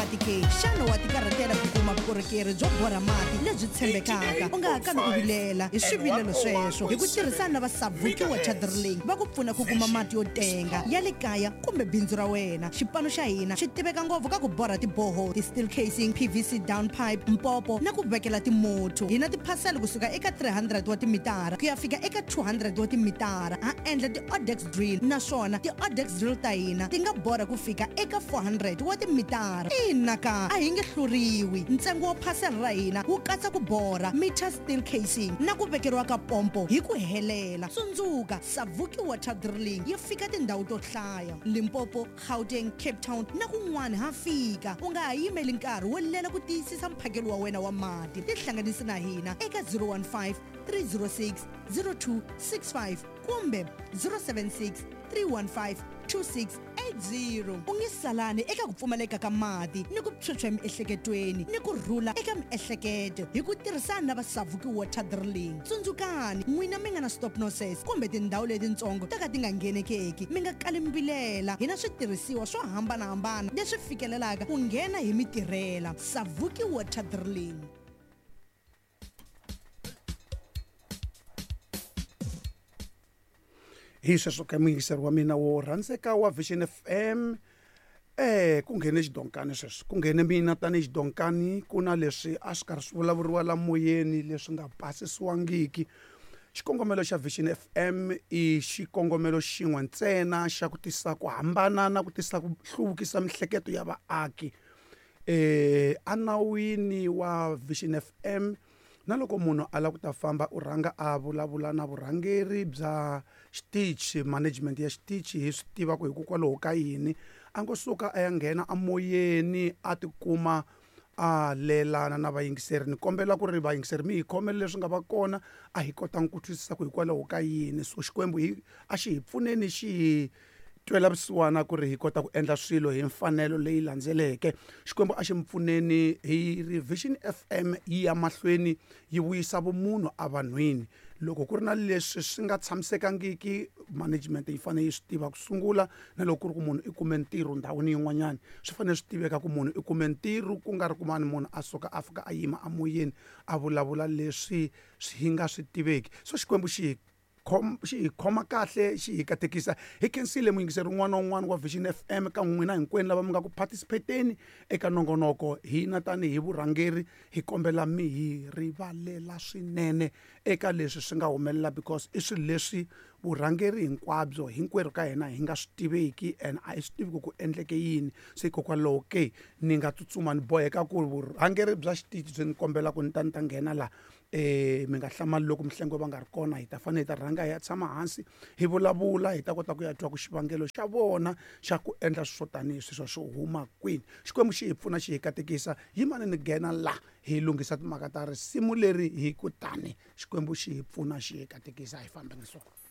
mati ke? Xana wa tikarhatela ku kuma vukorhokeri byo borha mati lebyi tshembekaka? U nga ha kami u vilela hi swivilelo sweswo hi ku tirhisana na va Savuki Water Drilling va ku pfuna ku kuma mati yo tenga ya le kaya kumbe bindzu ra wena. Xipano xa hina xi tiveka ngopfu ka ku borha tiboho, ti-steel casing, PVC down pipe, mpopo na ku vekela timotho. Hi na tiphasela kusuka eka 300 wa timitara ku ya fika eka 200 wa timitara. Ha endla ti-odex drill naswona ti-odex drill ta hina ti nga borha ku fika eka 400 wa timitara. Ina ka, a hi nge hluriwi. Ntsengo wa phasela ra hina wu katsa ku borha, meter steel casing na ku vekeriwa ka pompo hi ku helela. Tsundzuka, Savuki Water Drilling yi fika tindhawu to hlaya, Limpopo, Gauteng, Cape Town na kun'wana ha fika. U nga ha yimeli nkarhi wo lela ku tiyisisa mphakelo wa wena wa mati. Tihlanganisi na hina eka 015 306 0265 kumbe 076 315 2680. U nge salani eka ku pfumaleka ka mati ni ku phyuphya emiehleketweni ni ku rhula eka miehleketo hi ku tirhisana na va Savuki Water Drilling. Tsundzukani, n'wina mi nga na stop nonsense kumbe tindhawu letitsongo to ka ti nga nghenekeki, mi nga kali mi vilela. Hi na switirhisiwa swo hambanahambana leswi fikelelaka ku nghena hi mi tirhela. Savuki Water Drilling. Hi sweswo ka muyingiseri wa mina wo rhandzeka wa Vision FM ku nghene xidonkani sweswi ku nghene mina tanihi xidonkani ku na leswi a swi karhi swi vulavuriwa la moyeni leswi nga pasisiwangiki xikongomelo xa Vision FM i xikongomelo xin'we ntsena xa ku tisa ku hambana na ku tisa ku hluvukisa mihleketo ya vaaki enawini wa Vision FM na loko munhu a lava ku ta famba u rhanga a vulavula na vurhangeri bya xitichi management ya xitichi hi swi tiva ku hikokwalaho ka yini a ngo suka a ya nghena emoyeni a tikuma a lelana na vayingiseri ni kombela ku ri vayingiseri mi hi khomela leswi nga va kona a hi kotanga ku twisisa ku hikwalaho ka yini so Xikwembu hi a xi hi pfuneni xi hi twela vusiwana ku ri hi kota ku endla swilo hi mfanelo leyi landzeleke Xikwembu a xi mi pfuneni hi ri Vision FM yi ya mahlweni yi vuyisa vumunhu evanhwini loko ku ri na leswi swi nga tshamisekangiki management yi fanele yi swi tiva ku sungula na loko ku ri ku munhu i kume ntirho ndhawini yin'wanyana swi fanele swi tiveka ku munhu i kume ntirho ku nga ri ku mani munhu a suka a fika a yima emoyeni a vulavula leswi swi nga swi tiveki so Xikwembu xi hi xi hi khoma kahle xi hi katekisa hi khensile muyingiseri un'wana na un'wana wa Vision FM ka n'wina hinkwenu lava mi nga ku participateni eka nongonoko hina tanihi vurhangeri hi kombela mi hi rivalela swinene eka leswi swi nga humelela because i swilo leswi vurhangeri hinkwabyo hinkwerhu ka hina hi nga swi tiveki and a hi swi tivi ku ku endleke yini se hikokwalaho ke ni nga tsutsuma ni boheka ku vurhangeri bya xitichi byi ni kombela ku ni ta ni ta nghena laha mi nga hlamali loko Mhlengwe va nga ri kona hi ta fanele hi ta rhanga hi ya tshama hansi hi vulavula hi ta kota ku ya twa ku xivangelo xa vona xa ku endla swo tanihi sweswo swo huma kwini Xikwembu xi hi pfuna xi hi katekisa yimani ni nghena la hi lunghisa timhaka ta risimu leri hi ku tani Xikwembu xi hi pfuna xi hi katekisa hi fambeni swona.